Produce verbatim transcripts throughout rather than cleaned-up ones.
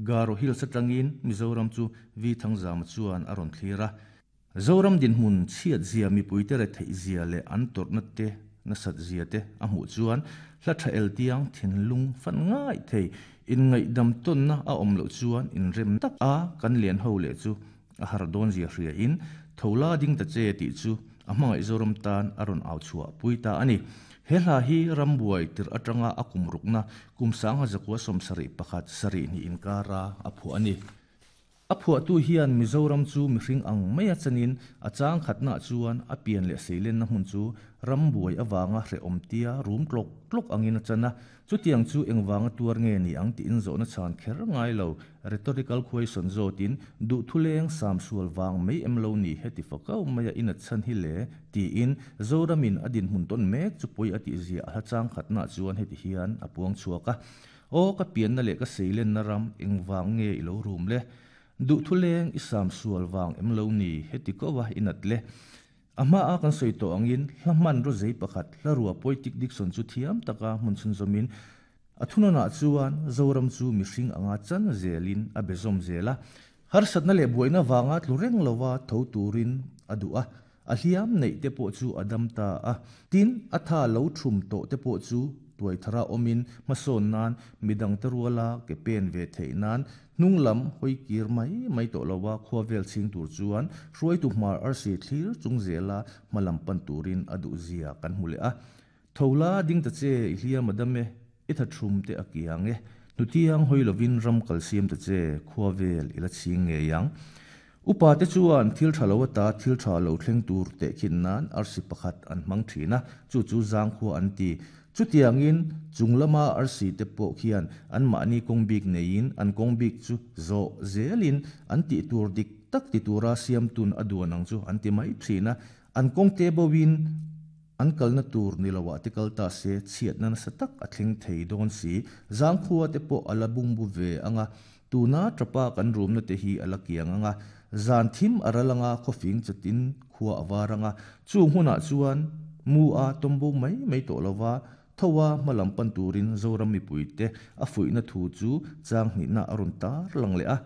Garo Hills atangin Mizoram chu V Thangzama chuan a rawn thlir a. Zoram dinhmun chhiat zia mipui te retheih zia leh an tawrhna te nasat zia te a hmuh chuan hla tha el tiang thinlung fan ngai thei inngaih dam tawnna a awm loh chuan inrem tak a kan lian ho leh chu a har dawn zia hria in thola ding ta che tih chu a hmangaih Zoram tan a rawn au chhuah pui ta a ni. He hla hi rambuai tir atanga a kum rukna kum sangha zakua sawmsarih pakhat sarih ni inkara a phuah a ni. A phuahtu hian Mizoram chu mihring ang mai a chanin a chang khatna chuan a pian leh seilenna hmun chu rambuai awanga hrehawm tia rum tlawk tlawk angin a chana chutiang chu engwanga tuar nge ni ang tiin zawhna chhan kher ngai lo rhetorical question zawtin duh thuleng sam sual wang mai em lo ni heti fakau mai a in a chan hi le tiin Zoramin a din hmun tawn mek chu pui a ti zia a hla chang khatna chuan heti hian a puang chhuak a. Aw ka pianna leh ka seilenna ram engwang nge i lo rum le duh thuleng i sam sual wang em lo ni heti kowa inat le ama a kan soi to angin hlaman ro zei pakhat hlarua poetic diction chu thiam taka hmun chun zomin athunana chuan Zoram chu mihring anga chan zelin a bezom zela har satna le buaina wanga tlureng lowa tho turin adua a hliam nei te pawh chu adam ta a tin atha lo thum to te pawh chu tuai thara omin mason nan midang te ruala ke pen ve thei nan hnunglam hoi kir mai mai to lowa khuavel ching tur chuan hruai tu hmar arsi thlir chung zela malam pan turin adu zia kan hmule a. Thola ding ta che i hliam adame i tha thum te akiang e nutiang hoi lovin ram kalsiam ta che khuavel ila ching nge yang upa te chuan thil tha lo ta thil tha lo thleng tur te khin nan arsi pakhat an mang thina chu chu zang khua an ti chutiangin chunglama arsi te pawh khian an mahni kawng bik neiin an kawng bik chu zo zelin an ti tur dik tak ti tura siam tun a duan ang chu an ti mai thina an kawng te bawin an kalna tur nilowa te kal ta se chhiat na nasa tak a thleng thei dawn si zangkhua te pawh ala bungbu ve anga tuna tapa kan rumna te hi ala kiang anga zan thim aralanga khawfing chatin khua awaranga chu hmunah chuan mu a tombo mai mai to lowa thowa malam pan turin Zoram mipui te a fuihna thu chu chang hnihna a rawn tar lang leh a.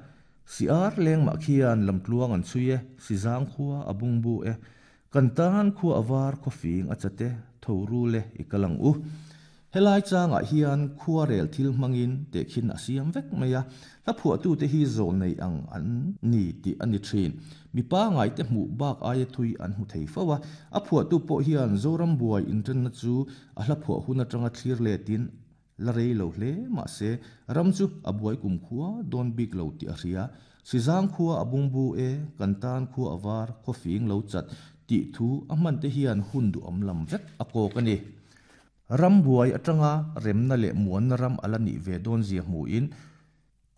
Si ar leng mah khian lamtluang an chhui e si zang khua a bungbu e kan tan khua awar khawfing a chate tho ru le i kalang u. Helai changah hian khua rel thil hmangin te khin a siam vek mai a hla phuahtu te hi zawl nei ang an ni tih a ni thin. Mipa ngai te hmuh bak aia thui an hmu thei fo a a phuahtu pawh hian Zoram buai inṭanna chu a hla phuah hun aṭanga thlir letin la rei lo hle mahse ram chu a buai kum khua dawn bik lo tih a hria. Si zang khua a bungbu e kan tan khua awar khawfing lo chat tih thu a hman te hian hun duh awm lam vek a kawk a ni. Ram buai atanga remna leh muanna ram ala nih ve dawn zia hmuin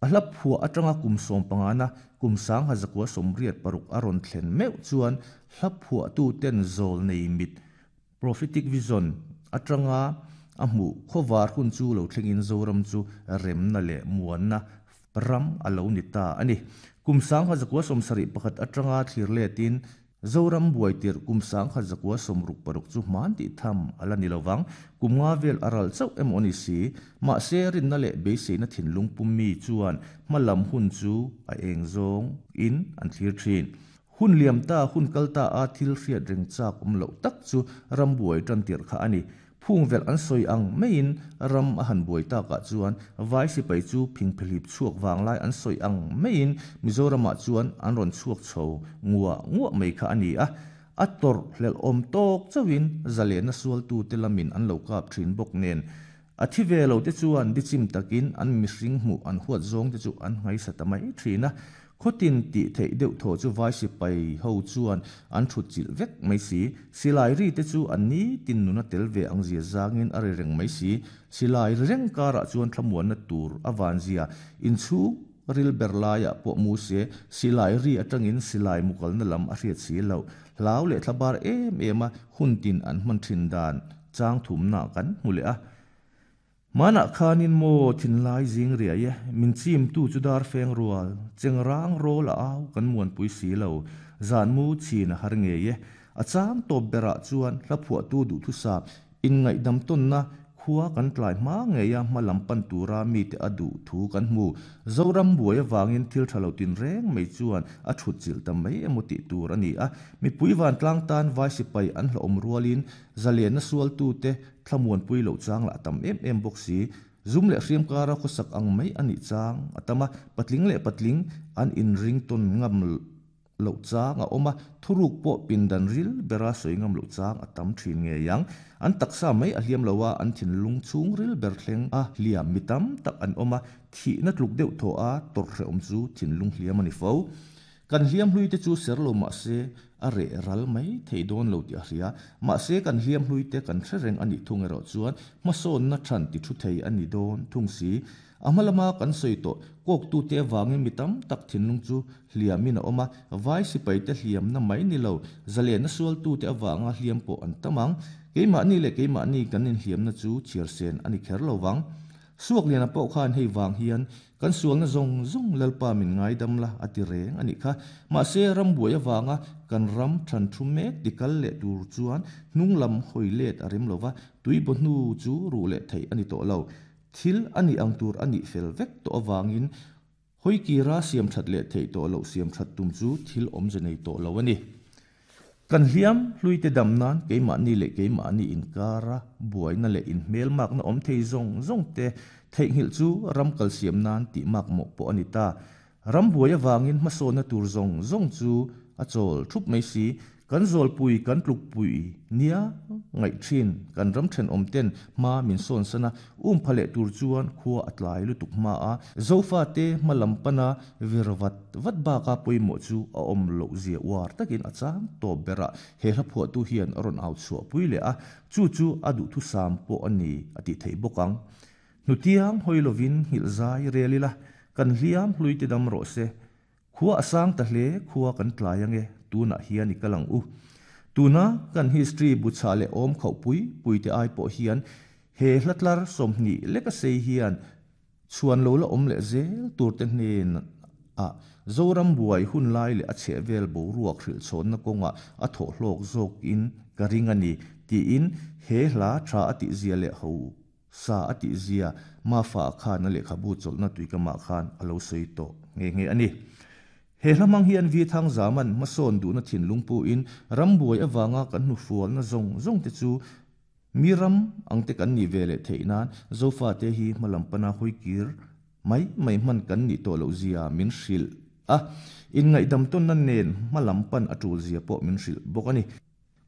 a hla phuah atanga kum sawm pangana kum sang ha zakua sawmriat paruk a rawn thlen meuh chuan hla phuah tu ten zawl nei mit prophetic vision atanga a hmuh khawvar hun chu lo thlengin Zoram chu remna leh muanna ram a lo ni ta a ni. Kum sang ha zakua sawmsarih pakhat atanga thlir letin Zoram buai tir kum sang kha zakua sawmruk paruk chu hman tih tham ala ni lovang kum nga vel aral chauh em awni si mahse rinna leh beiseina thinlung pummi chuan hmalam hun chu a eng zawng in an thlir thin. Hun liam ta hun kal ta a thil hriat reng chak awm loh tak chu ram buai tan tir kha a ni. Phung vel an sawi ang maiin ram a han buai takah chuan vai sipai chu phingphelip chhuak wanglai an sawi ang maiin Mizoramah chuan an rawn chhuak chho ngua ngua mai kha a ni a. A tawrh hlelh awm tawk chauhin zalena sualtu te lamin an lo kap thin bawk nen a thi ve lo te chuan dichim takin an mihring hmuh an huat zawng te chu an ngaisa ta mai thin a. Khotin tih theih deuh thaw chu vai sipai ho chuan an thut chilh vek mai si silai ri te chu an ni tin nuna tel ve ang zia zangin a ri reng mai si silai ri reng karah chuan thlamuanna tur a van zia inchhung ril ber laiah pawh mu se silai ri atangin silai mukalna lam a hriat si lo hlau leh thlabar em em a hun tin an hman thin dan chang thumna kan hmu leh a. Mana khanin mo thinlai zing ria ye min chim tu chu dar feng rual chengrang rol a au kan muan pui si lo zan mu chin a har nge ye a chang top bera chuan hla phuah tu duh thu sa in ngai dam ton na Khua kan tlai hma ngeia hma lam pan tura mite a duh thu kan hmu. Zoram buai avangin thil tha lo tin reng mai chuan a thut chilh ta mai emaw tih tur a ni a. Mipui vantlang tan vai sipai an hlauhawm rualin zalenna sualtute thlamuanpui loh chang lah a tam em em bawk si. Zum leh hriam kara khawsak ang mai a nih chang a tam a, patling leh patling an inring tawn ngam loh chang a awm a, thuruk pawh pindan ril bera sawi ngam loh chang a tam thin ngei ang. An taksa mai a hliam lo a, an thinlung chhung ril ber thleng a hliam mi tam tak an awm a, thihna tluk deuh thaw a tawrhhrehawm chu thinlung hliam a ni fo. Kan hliam hlui te chu ser lo mah se a reh ral mai thei dawn lo tih a hria. Mahse kan hliam hlui te kan hre reng a nih thung erawh chuan hmasawnna than ti thu thei a ni dawn thung si. A hma lama kan sawi tawh kawktute avangin mi tam tak thinlung chu hliamin a awm a, vai sipaite hliamna mai ni lo, zalenna sualtute avanga hliam pawh an tam ang. Keimahni leh keimahni kan inhliamna chu chhiar sen a ni kher lo vang. Suakliana pawh khan hei vang hian kan sualna zawng zawng Lalpa min ngaidam la a ti reng a nih kha. Mahse rambuai avanga kan ram than thu mek tikal leh tur chuan hnung lam hawi let a rem lova, tuibaw hnu chu ruh leh theih a ni tawh lo. Thil a nih ang tur a nih fel vek tawh avangin hawi kira siam that leh theih tawh loh siam that tum chu thil awmze nei tawh lo a ni. Kan hliam hluite dam nan keimahni leh keimahni inkara buaina leh inhmelmakna awm thei zawng zawng te theihnghilh chu ram kal siam nan tih mak mawh pawh a ni ta. Ram buai avangin hmasawnna tur zawng zawng chu a chawl thup mai si. Kan zawlpui kan tlukpui nia ngaih thin kan ram thenawm ten hma min sawn sana um pha leh tur chuan khua a tlai lutuk hma a. Zofa te hma lam pana vir vat vat baka pawimawh chu a awm loh zia uar takin a chang tawp berah he hla phuahtu hian a rawn au chhuah pui leh a, chu chu a duh thusam pawh a ni a tih theih bawk ang. Hnutiang hawi lovin nghilh zai rel ila, kan hliam hlui te dam rawh se. Khua a sang ta hle khua kan tlai ange tunah hian i kalang u. Tuna kan history buchha leh awm khauh pui pui te ai pawh hian he hlatlar sawmhnih leka sei hian chhuan lo la awm leh zel tur te hnen a Zoram buai hun lai leh a chheh vel boruak hrilh chhawnna kawnga a thawh hlawk zawk in ka ring a ni tiin he hla tha a tih zia leh ho sa a tih zia Mafa khan a lehkhabu chawlhna tuikamah khan a lo sawi tawh nge nge a ni. He hlamang hian vi thang zaman hmasawn duhna thinlung pu in rambuai awanga kan hnu fualna zawng zawng te chu mi ram ang te kan ni ve leh theih nan Zofa te hi hmalam pana hawi kir mai mai hman kan nih tawh loh zia min hrilh a, in ngaihdam tawnna nen hmalam pan a tul zia pawh min hrilh bawk a ni.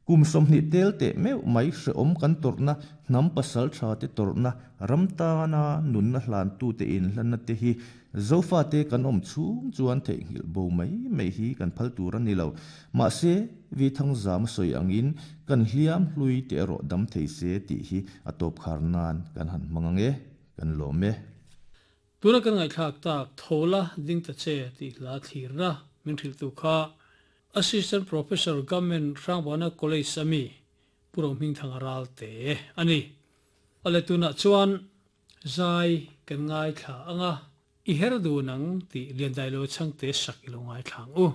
Kum sawmhnih tel teh meuh mai hreawm kan tawrhna hnam pasal tha te tawrhna ram tana nunna hlan tu te in hlanna te hi Zofa te kan awm chhung chuan theihnghilh bo mai mai hi kan phal tur a ni lo. Mahse vi thang zam a sawi angin kan hliam hlui te erawh dam thei se tih hi a tawp khar nan kan han hmang ange kan lawm e. Tuna kan ngaihthlak tak thola ding ta che tih hla thlirna min hrilh tu kha Assistant Professor Government Hrangbana College ami Puro Hming Thang Ral te ani. Ale tuna chuan zai kan ngai thla anga i her du nang ti lian dai lo chang te sak ilo ngai thlang u.